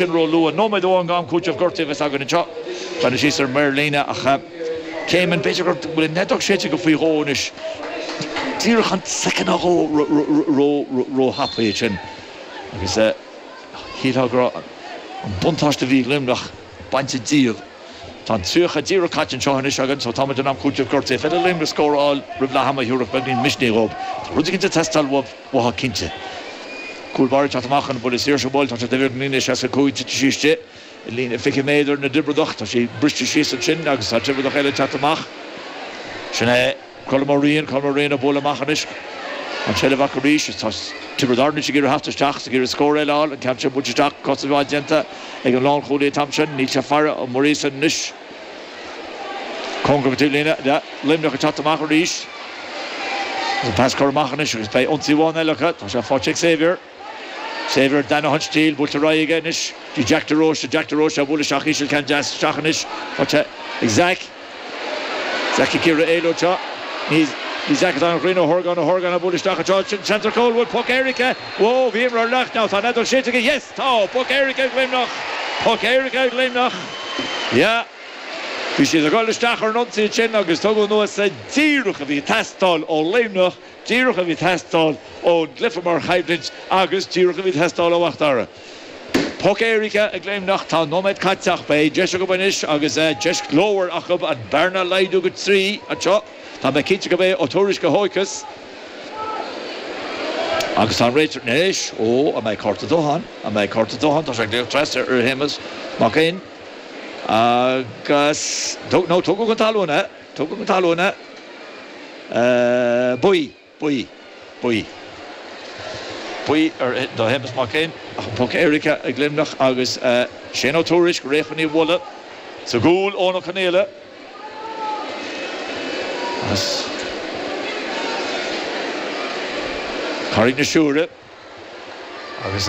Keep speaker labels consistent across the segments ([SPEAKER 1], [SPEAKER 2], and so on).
[SPEAKER 1] Sin ró-luath. Nóiméad amháin d'am cúitimh gortaithe a bheas againn anseo. Breathnaigh síos ar an maor líne ach Céimeann, b'fhéidir go bhfuil an fheadóg séidte aige faoi dhó anois. Díreach an soicind nó dhó ró-thapaidh ansin agus shílfeá go raibh an buntáiste a bhí ag Luimneach bainte díobh. Tá an 30 díreach caite anseo anois againn so táimid in am cúitimh gortaithe. Féidir le Luimneach scór a fháil roimh leath ama a thabharfadh beagáinín misnigh dhóibh. Tá rud éicint ag teastáil uaibh. Uathu cinnte. Cúl báire ag teacht amach chun an buille saor seo a bhualadh. Tá sé taobh thiar den líne 65, tite sí istigh i líne 20 méadar na dTiobradach. Tá sí briste síos ansin agus tá Tiobradach eile ag teacht amach. Sin é Colm Ó Riain, Colm Ó Riain ag bualadh amach anois. An tseilbh acu arís. Tá Tiobraid Árann anois ag iarraidh theacht isteach, ag iarraidh scór eile a fháil. An ceann sin buailte isteach, cosaint mhaith déanta ag an lánchúlaí an t-am sin. Níl sé ag faire Ó Muiríosa anois. Cóngarach don taobhlíne. Luimneach ag teacht amach arís. An pas curtha amach anois agus beidh ionsaí amháin eile acu. Tá sé faighte ag Xavier. Xavier Danny Steele buailte ar aghaidh aige anois dtí Jack de Róiste. Jack de Róiste á bhualadh isteach íseal ceann deas isteach anois. Faighte ag Zach. Zach ag iarraidh éalú anseo. Ní ní Zach atá an-chruinn Ó hOrgáin Ó hOrgáin á bualadh isteach anseo. Sin seans ar chúl. Bhfuil poc éirice? Whoa, bhí imreoir leath now. Tá an fheadóg séidte aige. Yes! Tá! Poc éirice ag Luimneach! Poc éirice ag Luimneach! Yeah. Bhí siad ag dul isteach ar an ionsaí ansin agus tugadh anuas é díreach a bhí ag teastáil ó Luimneach, díreach a bhí ag teastáil ón gcluiche mar choimhlint agus díreach a bhí ag teastáil ó Mhac Dara. Poc éirice ag Luimneach, tá nóiméad caite ach beidh deis acu anois agus deis ghlórmhar acu an bearna a laghdú go 3 anseo. Tá mé cinnte gurb é Ó Tuairisg a thóigfeas agus tá an réiteoir anois, ó, an mbeidh cárta dubh ann? An mbeidh cárta dubh ann? Tá sé ag glaoch trasna ar Shéamus Mac Fhinn. Agus, no, tugadh chun talún é, tugadh chun talún é, buí, buí, buí, buí ar, do Shéamus Mac Fhinn, ach an poc éirice ag Luimneach agus Shane Ó Tuairisg réidh chun í a bhualadh sa gcúl, Eoin Ó Conaola. As Carraig na Siúire. Agus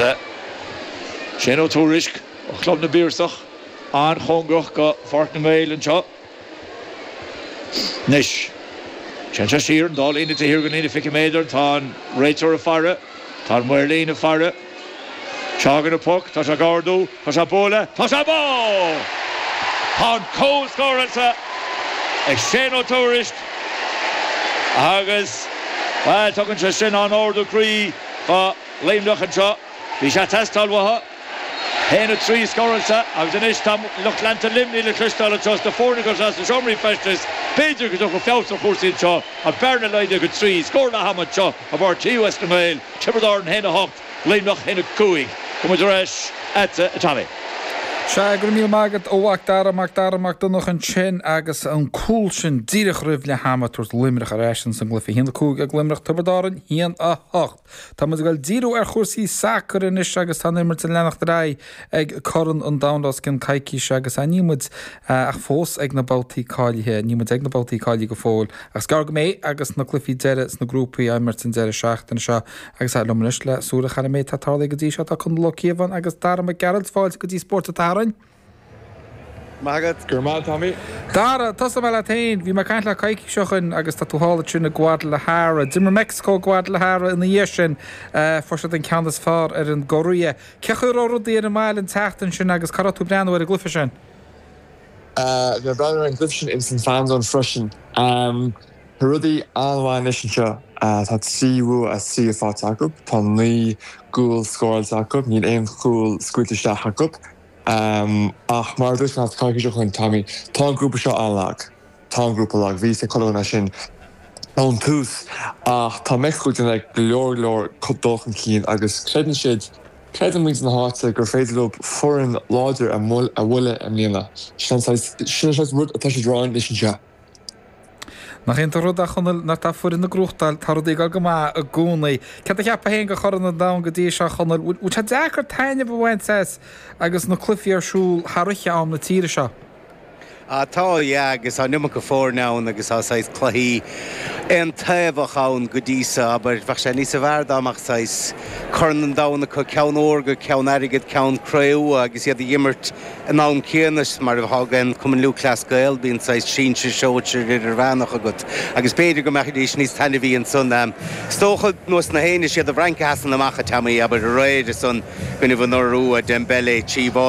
[SPEAKER 1] Shane Ó Tuairisg ó Chlub na bPiarsach an-chóngarach go Pháirc na nGael anseo anois. Téann sé siar an dá líne taobh thiar den líne 20 méadar. Tá an réiteoir ag faire. Tá an maor líne ag faire. Seo chugainn an poc. Tá sé ag ardú. Tá sé ag bualadh. Tá sé bá! Tá an cúl scóráilte ag Shane Ó Tuairisg agus, bhuel, tugann sé sin an-ardú croí do Luimneach anseo. Bhí sé ag teastáil uathu. 1-3 scóráilte agus anois tá lucht leanta Luimnigh le cloisteáil anseo sna foirne agus sna seomraí feistis. B'fhéidir go dtiocfaidh feabhas ar chúrsaí anseo. An bearna laghdaithe go 3 scór leath ama anseo i bPáirc TUS na nGael, Tiobraid Árann 1-8. Luimneach 1, 5. Gabhfaidh muid ar ais agatsa, a Tommy.
[SPEAKER 2] Sea, go raibh míle maith agat, a Mhac Dara, Mac Dara Mac Donncha ansin agus an cúl sin díreach roimh leath ama ag tabhairt Luimneach ar ais ins an gcluiche. 1, 5 ag Luimneach, Tiobraid Árann 1, 8. Tá muid ag dul díriú ar chúrsaí sacair anois agus tá an imirt ag leanacht ar aghaidh ag Corn an Domhain le os cionn coicíse agus níl muid ach fós ag na babhtaí cáilithe, níl muid ag na babhtaí cáilithe go fóill ach is gearr go mbeidh agus na cluichí deiridh sna grúpaí á imirt an deireadh seachtaine seo. Agus liom anois le súil a chur ar an méid atá tarlaithe go dtí seo tá Conall Ó Cíobháin agus Dara Mac Gearailt. Fáilte go dtí Spórt an tSathairn.
[SPEAKER 3] Maith agat. Go raibh maith, Tommy.
[SPEAKER 2] Dara, tosóidh mé leat féin. Bhí mé ag caint leat coicís ó shin agus tá tú thall ansin i Guadalajara. D'imir Meicsiceo Guadalajara ina dhiaidh sin. Fuair siad an ceann is fearr ar an gCóiré. Cé chaoi a raibh rudaí ar an mbaile an tseachtain sin agus cá raibh tú ag breathnú ar an gcluiche sin?
[SPEAKER 3] Bhí mé ag breathnú ar an gcluiche sin ins an FanZone freisin. Tá rudaí an-mhaith anois anseo. Tá 3 bhua as 3 faighte acu. Tá 9 gcúl scóráilte acu. Níl aon chúl scaoilte isteach acu. Ach mar a dúirt mé coicís ó shin, Tommy, tá an grúpa seo an-lag. Tá an grúpa lag. Bhí a fhios ag chuile dhuine é sin ón tús. Ach tá Meicsiceo ag déanamh go leor leor dul chun cinn agus creideann siad, creideann muintir na háite gur féidir leo foireann láidir a bhualadh i mbliana. Sin an saghas rud atá siad ag rá anois anseo.
[SPEAKER 2] Nach iontach an rud é, a Chonaill, nuair atá foireann ag gnóthachtáil, tá rudaí ag dul go maith i gcónaí. Céard a cheapfá féin de Chorn an Domhain go dtí seo, a Chonaill? Bhfuil sé deacair taitneamh a bhaint as agus na cluichí ar siúl thar oíche am na tíre seo?
[SPEAKER 4] Ah tá, yeah, agus tá an iomarca foirne ann agus tá saghas cluichí aontaobhach ann go dtí so, abair. Bheadh sé níosa bhfearr dá mbeadh saghas Corn an Domhain acu, ceann órga, ceann airgid, ceann cré-umha agus iad a dh'imirt an am céanna mar atá ag an Cumann Lúthchleas Gael, bíonn saghas sinsir, sóisir, idirmheánach agat agus b'fhéidir go mbeidís níos taitneamhaí ansan. Is dócha, nós na héinne, is iad an Fhrainc a sheasann amach, a Tommy, abair, aréir ansan, i gcoinnibh an Iorua, Dembele, 3 bháide.